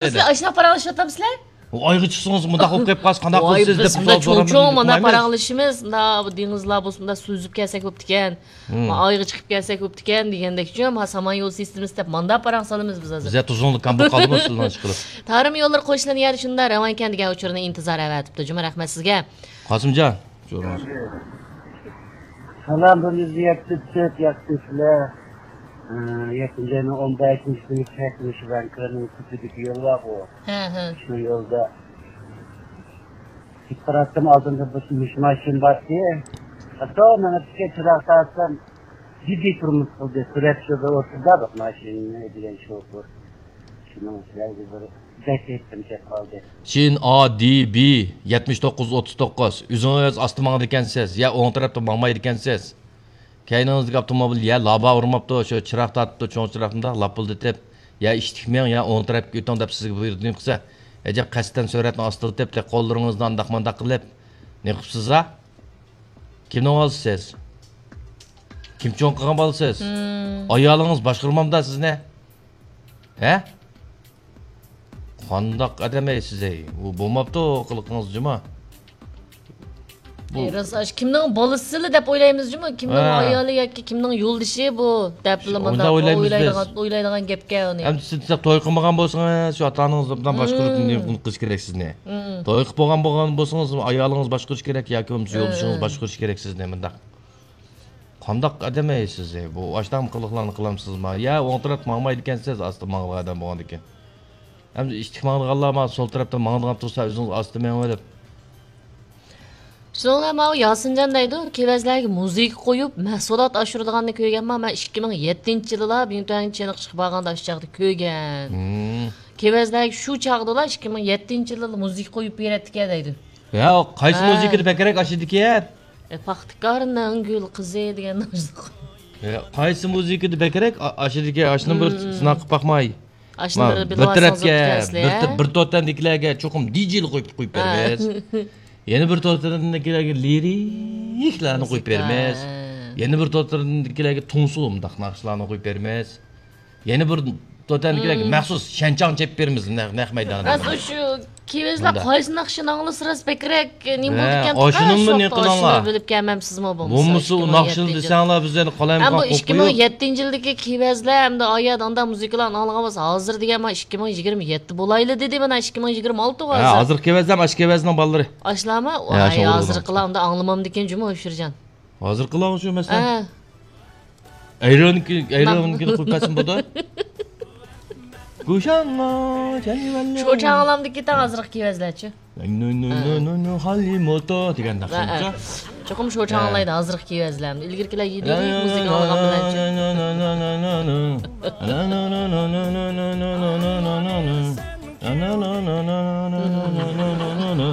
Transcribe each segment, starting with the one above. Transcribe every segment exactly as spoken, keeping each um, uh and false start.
سىلەر ئاشۇنداق پاراڭلىشىۋاتامسىلەر؟ ئايغا چىقسىڭىز مۇنداق بولۇپ قېلىپ قالسا قانداق قىلىسىز دەپ، بىز مۇنداق چوڭ چوڭ مانا پاراڭلىشىمىز، مۇنداق دېڭىزلار بولسا مۇنداق سۈزۈپ كەلسەك بوپتىكەن. ئايغا چىقىپ كەلسەك بوپتىكەن دېگەندەكچۇ، ھا سامان يول سىستېمىسى دەپ ماندا پاراڭ سالىمىز بىز ھازىر. بىزە تۇزۇڭلۇق كامبۇ قالدىمۇ سىلەرنىڭ چىقىرىپ. تارىم يوللىرى قوشۇلىدىغان يەر شۇنداق راۋانكەن دېگەن ئۇچۇرنى ئىنتىزار ئەۋەتىپتۇ. جۇمۇ رەھمەت سىزگە. قاسىمجان. سالام، بىر يۈز يەتتە تۆت ياقتىكىلەر. ئى، يەتتىنچى ئاينىڭ ئون بەشىنچى كۈنى كەچمىش ۋەنكۆرنىڭ تۈپىدىكى يول بارغۇ. ھە، ھە. شۇ يولدا كېتىپ باراتتىم، ئالدىمدا بىر مۇش ماشىنا بارتى. ئاستا مېڭىپ چىراغ تارتسام، جىددىي تۇرمۇش قىلدى. سۈرەتچىدە ئولتۇردا بىر ماشىنىنى دېگەن شوپۇر. شۇنىڭ سىلەرگە بىر بەك ھېسىم كەپ قالدى. شىن ئا دى بى يەتمىش توققۇز ئوتتۇز توققۇز، ئۆزىڭىز ئاستا ماڭىدىكەنسىز، يا ئوڭ تەرەپتە ماڭمايدىكەنسىز. كەينىڭىزدىكى ئاپتوموبىل يا لابا ئۇرماپتۇ، شۇ چىراغ تارتىپتۇ، چوڭ چىراغ مۇنداق لاپپىلدىتىپ، يا ئىشتىك مېڭ، يا ئوڭ تەرەپكە ئۆتۈڭ دەپ سىزگە بۇيرۇق قىلسا، ئەجەب قەستەن سۈرئەتنى ئاستىلىتىپ، قوللىرىڭىزنى ئانداق مانداق قىلىپ، نېمە قىپسىز ھا؟ كىمنىڭ بالىسى سىز؟ كىم چوڭ قىلغان بالىسىز؟ ئايالىڭىز باشقۇرمامدا سىزنى؟ ھە؟ قانداق ئادەم ئەي سىز ئەي؟ ئۇ بولماپتۇ قىلىقىڭىز جۇما. بۇ ئەي، راست، ئاشۇ كىمنىڭ بالىسىلا دەپ ئويلايمىز جۇمۇ؟ كىمنىڭ ھە. ئايالى ياكى كىمنىڭ يولدىشى بۇ دەپلا شۇ، مۇنداق ئويلايمىز بىز. ئويلايدىغان، ئويلايدىغان گەپكەن ئۇنى. ئەمدى سىز توي قىلمىغان بولسىڭىز، شۇ ئاتا ئانىڭىز بىلەن باشقۇرۇپ قىلىش كېرەك سىزنى. توي قىلىپ بولغان بولغان بولسىڭىز، ئايالىڭىز باشقۇرۇش كېرەك ياكى بولمىسا يولدىشىڭىز باشقۇرۇش كېرەك سىزنى مۇنداق. قانداق ئادەم ئەي سىز؟ بۇ ئاشۇنداقمۇ قىلىقلارنى قىلامسىزما؟ يا ئوڭ تەرەپتە ماڭمايدىكەنسىز، ئاستا ماڭىدىغان ئادەم بولغاندىكىن. ئەمدى ئىشتىك ماڭىدىغانلار مانا سول تەرەپتە ماڭىدىغان تۇرسا، ئۆزىڭىز ئاستا مېڭىۋېلىپ. شۇنىڭ بىلەن ماۋۇ ياسىنجان دەيدۇ، كېۋەزلەرگە مۇزىكا قويۇپ، مەھسۇلات ئاشۇرىدىغاننى كۆرگەنمەن، مەن ئىككى مىڭ يەتتىنچى يىلىلا بىڭتۈەنگە چېنىقىشقا بارغاندا ئاشۇ چاغدا كۆرگەن. كېۋەزلەرگە شۇ چاغدىلا، ئىككى مىڭ يەتتىنچى يىلىلا مۇزىكا قويۇپ بېرەتتىكەن دەيدۇ. يا، قايسى ھە. مۇزىكىدا بەكرەك ئاشىدىكەن؟ ئە، پاختىكارنىڭ گۈل قىزى دېگەن. يا، قايسى مۇزىكىدا بەكرەك ئا-، ئاشىدىكەن؟ ئاشۇنى بىر سىناق قىلىپ باقماي. ئاشۇنى ما، بىر بىر بىلىۋالسىڭىز تەرەپكە، بوپتىكەن سىلەر، بىر ھە؟ تە-، بىر توتەندىكىلەرگە چوقۇم دىجېيلىق قويۇپ، قويۇپ ھە. بېرىمىز. يەنە بىر توتەندىكىلەرگە لىرىكلارنى قويۇپ مۇزىكا. بېرىمىز. ھە. يەنە بىر توتەندىكىلەرگە تۇڭسۇ مۇنداق ناخشىلارنى قويۇپ بېرىمىز. يەنە بىر توتەنكىلەرگە مەخسۇس شەنچاڭ چېلىپ بېرىمىز نەق، نەق مەيداندا. راست، شۇ كېۋەزلەر قايسى ناخشىنى ئاڭلىسا راست بەكرەك نېمە بولىدىكەن؟ ھە، ئاشۇنىمۇ نېمە قىلىڭلار؟ بىلىپ كەلمەمسىزمۇ بولمىسا؟ بولمىسا ئۇ ناخشىنى دېسەڭلار بىز يەنە قالايمىقان قويۇپ قويۇپ. بۇ ئىككى مىڭ يەتتىنچى يىلدىكى كېۋەزلەر ئەمدى ئايەت ئاندا مۇزىكىلارنى ئاڭلىغان بولسا، ھازىر دېگەن مانا ئىككى مىڭ يىگىرمە يەتتە بولايلى دېدى، مانا ئىككى مىڭ يىگىرمە ئالتە ھە، ھازىر. ھازىرقى كېۋەزلەر، ئاشۇ كېۋەزنىڭ بالىلىرى. ئاشۇلارمۇ؟ ھە، ۋاي، شۇ ھازىرقىلار ئەمدى ئاڭلىمامدىكىن جۇمۇ، ئۆكسۈرجان. ھازىرقىلارغۇ شۇ مەسىلەن. ھە. ئەيرانكى، ئەيرانكىنى قويۇپ بەرسىمۇ بولىدۇ. گۇشاڭغا چەنىۋەللە. شۇ چاغلامدىكى تاڭ ھازىرقى كېۋەزلەرچۇ؟ نو، نو، نو، نو، نو، نو، ھالىموتو دېگەن ھە، ھە. ناخشىچۇ. چوقۇم شۇ چاغ ھە. ئاڭلايدۇ، ھازىرقى كېۋەزلەر. ئىلگىرىكىلەر يېدى مۇزىكا ئاڭلىغان بىلەنچۇ.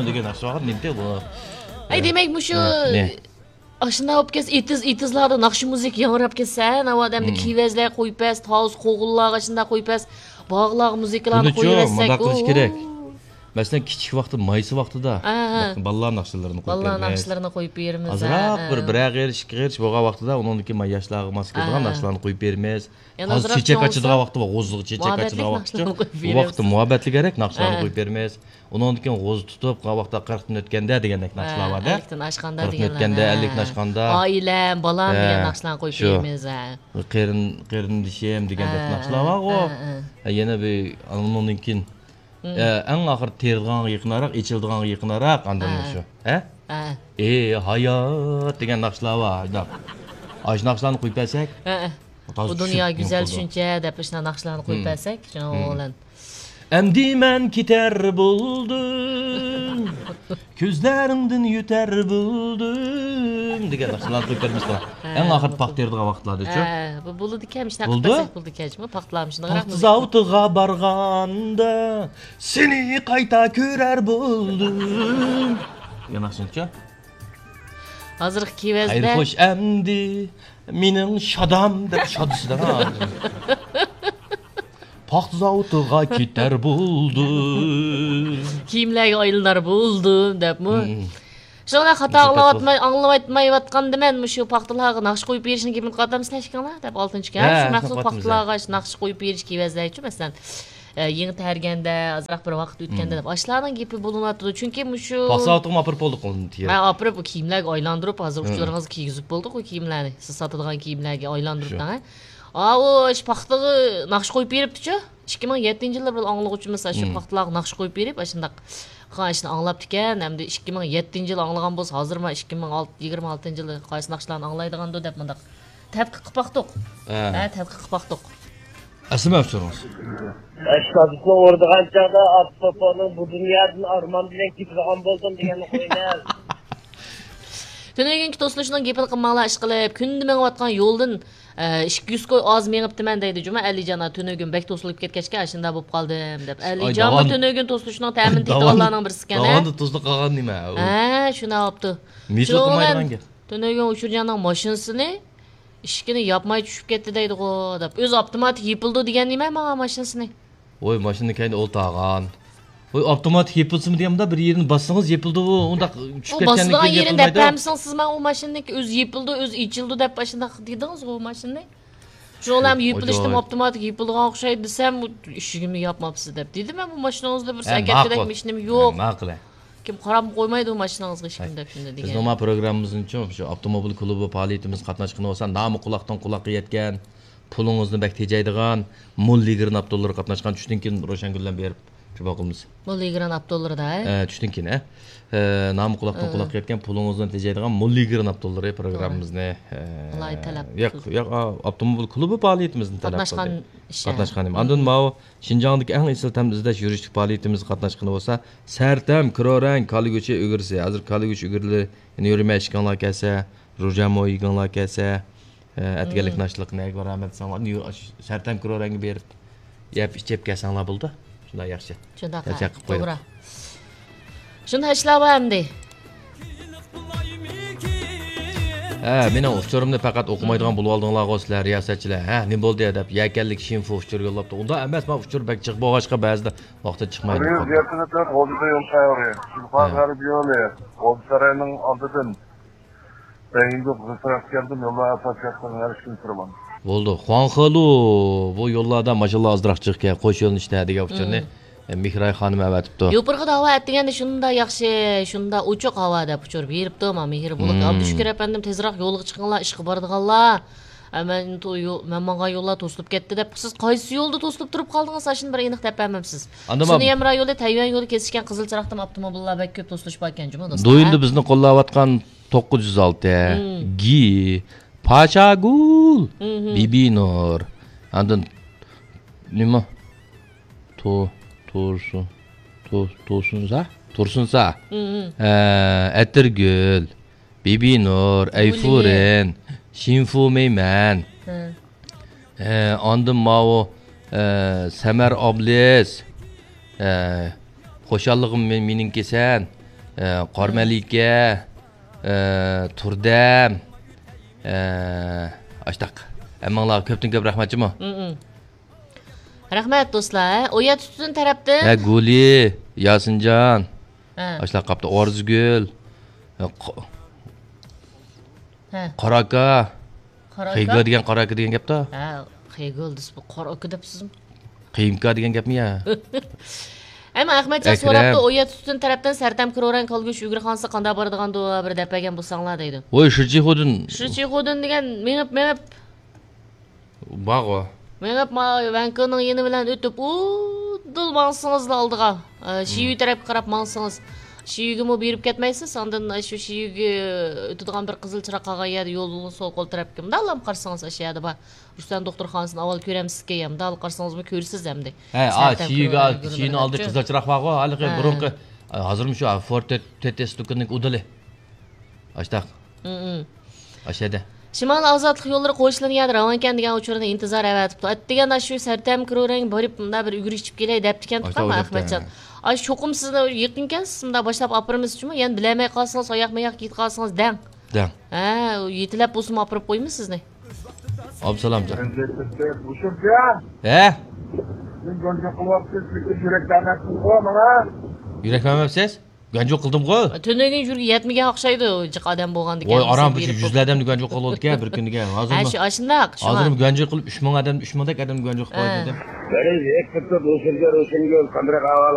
دېگەن ناخشا بار، نېمىدى بۇ؟ ئەي، دېمەك، مۇشۇ ھە، نە؟ ئاشۇنداق بولۇپ كەتسە، ئېتىز، ئېتىزلاردا ناخشا مۇزىكا ياڭراپ كەتسە، ھە، ناۋادا ئەمدى مم. كېۋەزلەر قويۇپ بەرسە، تاۋۇز قوغۇنلارغا شۇنداق قويۇپ بەرسە، باغلارغا مۇزىكىلارنى بۇنىچۇ، قويۇۋەتسەك، مۇنداق قىلىش ئوو. كېرەك. مەسىلەن، كىچىك ۋاقتى، مايسا ۋاقتىدا ھە، ھە. بالىلار ناخشىلىرىنى قويۇپ بالىلار بەرمەيسىز. ناخشىلىرىنى قويۇپ بېرىمىز، ئازراق ھە، بىر، ھە. بىرەر غېرىش، ئىككى غېرىش بولغان ۋاقتىدا، ئۇنىڭدىن كېيىن ما ياشلارغا ماس كېلىدىغان ھە. ناخشىلارنى قويۇپ بېرىمىز. يەنە ھازىر ئازراق چېچەك چوڭ ئاچىدىغان بولسا ۋاقتى بار، غوزىغا چېچەك مۇھەببەتلىك ئاچىدىغان ۋاقىتچۇ. ناخشىلارنى قويۇپ بۇ ۋاقىتتا بېرىمىز. مۇھەببەتلىك گەرەك ناخشىلارنى ھە. قويۇپ بېرىمىز. ئۇنىڭدىن كېيىن غوزا تۇتۇپ، قالغان ۋاقىتتا قىرىقتىن ئۆتكەندە دېگەندەك ناخشىلار ھە، بار-دە. ئەللىكتىن ئاشقاندا قىرىقتىن دېگەنلەر، ئۆتكەندە، ھە. ئەللىكتىن ئاشقاندا. ئائىلەم، بالام ھە، دېگەن ناخشىلارنى قويۇپ شۇ. بېرىمىز، ھە. قېرىن-، قېرىندىشىم دېگەندەك ھە، ناخشىلار بارغۇ. ھە، ھە. ھە، يەنە بىر، ئۇنىڭدىن كېيىن، مم. ئە، ئەڭ ئاخىرى تېرىلغانغا يېقىنراق، ئېچىلىدىغانغا يېقىنراق، ئاندىن ھە. شۇ. ھە؟ ھە. ئى ھايات دېگەن ناخشىلار بار، ئاشۇنداق. ئاشۇ ناخشىلارنى قويۇپ بەرسەك، ھە، ھە. تازا بۇ دۇنيا چۈشۈپ گۈزەل نېمە قىلىدۇ. شۇنچە دەپ ئاشۇنداق ناخشىلارنى قويۇپ مم. بەرسەك، شۇنىڭ مم. بىلەن. ئەمدى مەن كېتەر بولدۇم، كۆزلىرىڭدىن يۆتەر بولدۇم دېگەن ناخشىلارنى قويۇپ بەرمىسىلەر. ھە، ئەڭ ئاخىرى بولدى. پاختا تېرىدىغان ۋاقىتلاردا شۇ. ھە، بۇ بولىدىكەن، مۇشۇنداق بولدى؟ قىلساق بولىدىكەن، شۇ پاختا زاۋۇتىغا بارغاندا سېنى قايتا كۆرەر بولدۇم. دېگەن ناخشىنىچۇ؟ ھازىرقى كېۋەزدە. خەير خوش ئەمدى مېنىڭ شادام دەپ شادىسىدا. پاختا زاۋۇتىغا كېتەر بولدۇم. كىيىملەرگە ئايلىنار بولدۇم دەپمۇ. مم. شۇڭا خاتا ئاڭلاۋاتماي، ئاڭلاۋاتمايۋاتقاندىمەن، مۇشۇ پاختىلارغا ناخشا قويۇپ بېرىشنى گېپىنى قاتامسىلەر ئىككىڭلار دەپ ئالتىنچى كەل. ھە، شۇ مەخسۇس پاختىلارغا ناخشا قويۇپ بېرىش كېۋەزلەرچۇ، مەسىلەن. ئە، يېڭى تەرگەندە، ئازراق بىر ۋاقىت ئۆتكەندە دەپ، ئاشۇلارنىڭ گېپى بولۇنۇۋاتىدۇ. چۈنكى مۇشۇ ۋاقىت سائەتىغىمۇ ئاپىرىپ بولدۇق ئۇنى تېيىپ. ھە، ئاپىرىپ، ئۇ كىيىملەرگە ئايلاندۇرۇپ، ھازىر ئۇچۇرىڭىزغا كىيگۈزۈپ بولدۇق ئۇ كىيىملەرنى. سىز ساتىدىغان كىيىملەرگە ئايلاندۇرۇپ دەڭ، ھە. ئاۋۇ ئاشۇ پاختىغا ناخشا قويۇپ بېرىپتىچۇ. ئىككى مىڭ يەتتىنچى يىلى بىر ئاڭلىغۇچىمىز ئاشۇ پاختىلارغا ناخشا قويۇپ بېرىپ، ئاشۇنداق قىلغان ئىشنى ئاڭلاپتىكەن. ھەمدە ئىككى مىڭ يەتتىنچى يىلى ئاڭلىغان بولسا، ھازىر ما ئىككى مىڭ ئالتە، يىگىرمە ئالتىنچى يىلى قايسى ناخشىلارنى ئاڭلايدىغاندۇ دەپ مۇنداق تەتقىق قىلىپ باقتۇق. ھە. ھە، تەتقىق قىلىپ باقتۇق. ئەسلىمە ئۇچۇرىڭىز. ئەش كاسىپنى ئۇرىدىغان چاغدا ئاپتوپنىڭ بۇ دۇنيادىن ئارمان بىلەن كېتىدىغان بولدۇم دېگەننى قويىمەن. تۈنۈگۈنكى توسۇلۇشنىڭ گېپىنى قىلماڭلار، ئىشقىلىپ، كۈندە مېڭىۋاتقان يولدىن، ئە، ئىككى يۈز كوي ئاز مېڭىپتىمەن دەيدۇ جۇمۇ ئەلىجان. تۈنۈگۈن بەك توسۇلۇپ كەتكەچكە، ئاشۇنداق بولۇپ قالدىم دەپ. ئەلىجانمۇ تۈنۈگۈن توسۇلۇشنىڭ تەمىنى تېتىغانلارنىڭ بىرسىكەن، ھە؟ داۋاندا توسۇلۇپ قالغان نېمە ئۇ؟ ھە، شۇنداق بوپتۇ. مىجىل قىلمايدىغان گەپ. تۈنۈگۈن ئۇچۇرجاننىڭ ماشىنىسىنى ئىشىكىنى ياپماي چۈشۈپ كەتتى دەيدىغۇ دەپ. ئۆزى ئاپتوماتىك يېپىلىدۇ دېگەن نېمە ماڭا ماشىنىسىنى؟ ۋوي، ماشىنىنىڭ كەينىدە ئولتۇرغان. ۋوي، ئاپتوماتىك يېپىلسىمۇ دېگەن، مۇنداق بىر يېرىنى باسسىڭىز يېپىلىدۇ، ئۇنداق چۈشۈپ كەتكەندىن كېيىن يېپىلمايدۇ. ئۇ باسىدىغان يېرىنى دەپ بەرمىسىڭىز سىز ماڭا ئۇ ماشىنىنىڭكى ئۆزى يېپىلىدۇ، ئۆزى ئېچىلىدۇ دەپ ئاشۇنداق دېدىڭىزغۇ ئۇ ماشىنىنى. شۇڭلام يېپىلىشتىمۇ ئاپتوماتىك يېپىلىدىغان ئوخشايدۇ دېسەم، ئىشىكىمنى ياپماپسىز دەپ دېدىم مەن بۇ ماشىنىڭىزدا بىر سەكەتكىدەك ماشىنىم يوق. ماقۇل. كىم قاراپمۇ قويمايدۇ ماشىنىڭىزغا ھېچكىم دەپ شۇنداق دېگەن. بىزنىڭ ما پروگراممىمىزنىڭچۇ شۇ ئاپتوموبىل كۇلۇبى پائالىيىتىمىز قاتناشقىنى بولسا، نامى قۇلاقتىن قۇلاققا يەتكەن، پۇلىڭىزنى بەك تېجەيدىغان، موللىگرېن ئاپتوللىرى قاتناشقان. چۈشتىن كېيىن روشەنگۈل بىلەن بېرىپ جۇما قىلىمىز. موللىگرېن ئاپتوللىرىدا، ھە؟ ئە، چۈشتىن كېيىن، ھە؟ ئە، نامى قۇلاقتىن قۇلاققا يەتكەن، پۇلىڭىزنى تېجەيدىغان موللىگرېن ئاپتوللىرى پروگراممىمىزنى، ئە، ئالاھىدە تەلەپ قىلدى. ياق، ياق، ئا، ئاپتوموبىل كۇلۇبى پائالىيىتىمىزنى تەلەپ قىلدى. قاتناشقان ئىش، ھە. قاتناشقان. ئاندىن ماۋۇ شىنجاڭدىكى ئەڭ ئېسىل تەم ئىزدەش يۈرۈشلۈك پائالىيىتىمىزگە قاتناشقىنى بولسا، سەرتەم كرورەڭ كالا گۆشى ئۈگرىسى. ھازىر كالا گۆشى ئۈگرىلىرىنى يۈرمەي ئىشكەڭلار كەلسە، روژامو يېگەڭلار كەلسە، ئە، ئەتىگەنلىك ناشتىلىقنى نەگە بارىمەن دېسەڭلار، ئاشۇ سەرتەم كرورەڭگە بېرىپ، يەپ ئىچىپ كەلسەڭلار بولىدۇ. شۇنداق ياخشى. شۇنداق، ھە، توغرا. شۇنداق ئىشلار بار ئەمدى. ھە، مېنىڭ ئۇچۇرۇمنى پەقەت ئوقۇمايدىغان بولۇۋالدىڭلارغۇ سىلەر، رىياسەتچىلەر. ھە، نېمە بولدى دەپ، يەكەنلىك شىنفۇ ئۇچۇر يوللاپتۇ. ئۇنداق ئەمەس، مانا ئۇچۇر بەك جىق بولغاچقا بەزىدە ۋاقتىدا چىقمايدۇ. غۇلجا يول سەۋرى، شىنخۇا غەرب يولى، غۇلجا سارىيىنىڭ ئالدىدىن. بەيىنگۇ غىسراپ كەلدىم، يوللار ئاساس ياقتىن ھەر ئىككىنچى تۇرىمەن. بولدى. خۇاڭخېلۇ، بۇ يوللاردا ماشىنىلار ئازراق جىق ئىكەن، قوش يۆنىلىشتە دېگەن ئۇچۇرنى، ئە، مېھراي خانىم ئەۋەتىپتۇ. يوپۇرغا ھاۋا ئەتىگەندە شۇنداق ياخشى، شۇنداق ئوچۇق ھاۋا دەپ ئۇچۇر بېرىپتۇ، مانا مېھرى بولۇت. ئابدۇشۈكۈر ئەپەندىم، تېزراق يولغا چىقىڭلار، ئىشقا بارىدىغانلار. ئە، مەن تو-، يو-، مەن ماڭغان يوللار توسۇلۇپ كەتتى دەپ، سىز قايسى يولدا توسۇلۇپ تۇرۇپ قالدىڭىز؟ ئاشۇنى بىر ئېنىق دەپ بەرمەمسىز. سۈنئىي ھەمراھ يولى، تەيۋەن يولى كېسىشكەن قىزىل چىراغدىمۇ ئاپتوموبىللار بەك كۆپ توسۇلۇش باركەنجۇمۇ، دوستلار؟ دويىندا بىزنى قوللاۋاتقان توققۇز يۈز ئالتە، گى، پاشاگۈل، بىبىنۇر، ئاندىن نېمە؟ تو-، تۇرسۇن، تو-، تۇرسۇنزا؟ تۇرسۇنزا. ئە، ئەتىرگۈل، بىبىنۇر، ئەيفۇرىن، شىنفۇمېيمەن. ئە، ئاندىن ماۋۇ، ئە، سەمەر ئابلىز، ئە، خۇشاللىقىم مېنىڭكى سەن، ئە، قارمەلىكە، ئە، تۇردەم، ئە، ئاشتاق. ھەممىڭلارغا كۆپتىن كۆپ رەھمەت جۇمۇ. رەھمەت، دوستلار. ھە، ئويا تۈتۈن تەرەپتىن. ھە، گۈلى، ياسىنجان. ھە. ئاشۇلار قاپتۇ. ئارزۇگۈل. ھە، قا-، ھە. قاراكا. قاراكا؟ خېگا دېگەن قاراكا دېگەن گەپتۇ. ھە، خېگا دېسە بۇ قاراكا دەپسىزمۇ؟ قېيىمكا دېگەن گەپمۇ يا؟ ئەمما ئەخمەتجان ئەكرەم سوراپتۇ، ئويا تۈتۈن تەرەپتىن سەرتەم كرورەڭ كالگۈش ئۈگرە خانسا قانداق بارىدىغاندۇ، بىر دەپ بەرگەن بولساڭلار دەيدۇ. ۋوي، شىچىخۇدىن. شىچىخۇدىن دېگەن مېڭىپ، مېڭىپ. بارغۇ. مېڭىپ، ما، ۋەنكىنىڭ يېنى بىلەن ئۆتۈپ، ئۇدۇل ماڭسىڭىزلا ئالدىغا، ئە، شىيۈ تەرەپكە قاراپ ماڭسىڭىز، شىيۈگىمۇ بېرىپ كەتمەيسىز. ئاندىن شۇ شىيۈگە ئۆتىدىغان بىر قىزىل چىراغ قالغان يەردە يولنىڭ سول قول تەرەپكە مۇنداقلا قارىسىڭىز، ئاشۇ يەردە بار. رۇستەم دوختۇرخانىسىنى ئاۋۋال كۆرەمسىزكەن، يا مۇنداقلا قارىسىڭىزمۇ كۆرىسىز ئەمدى. ھە، شىيۈگە، شىيۈنىڭ ئالدىدا قىزىل چىراغ بارغۇ، ھېلىقى بۇرۇنقى، ھازىرمۇ شۇ فورد تۆت ئېس دۇكىنىنىڭ ئۇدۇلى. ئاشتاق. ئاشەدە. شىمال ئازادلىق يوللىرى قوشۇلىدىغان يەردە راۋانكەن دېگەن ئۇچۇرنى ئىنتىزار ئەۋەتىپتۇ. ئەتىگەندە شۇ سەرتەم كرورەڭگە بېرىپ، مۇنداق بىر ئۈگرە ئىچىپ كېلەي دەپتىكەن تۇقام ئەخمەتجان. ئاي، چوقۇم سىزنى يېقىنكەن، سىز مۇنداق باشلاپ ئاپىرىمىز جۇمۇ. يەنە بىلەلمەي قالسىڭىز، ئاياقمۇ ئاياق كېتىپ قالسىڭىز دەڭ. دەڭ. ھە، يېتىلەپ بولسىمۇ ئاپىرىپ قويىمىز سىزنى. ئابدۇسالامجان. ھە؟ يۈرەك بەرمەپسىز ماڭا. يۈرەك بەرمەپسىز؟ گەنجۇ قىلدىمغۇ؟ تۈنۈگۈن يۈرگە يەتمىگەن ئوخشايدۇ، جىق ئادەم بولغاندىكىن. ۋاي، ئاران بىر يۈزلەپ ئادەمنى گەنجۇ قىلىۋالدىكەن بىر كۈنىگە. ھازىرمۇ، ھە، شۇ، ئاشۇنداق، شۇڭا. ھازىرمۇ گەنجۇ قىلىپ، ئۈچ مىڭ ئادەم، ئۈچ مىڭدەك ئادەمنى گەنجۇ قىلىپ قويدى. Very respected Roshangul, Roshangul, qanday ئەھۋالىڭىز؟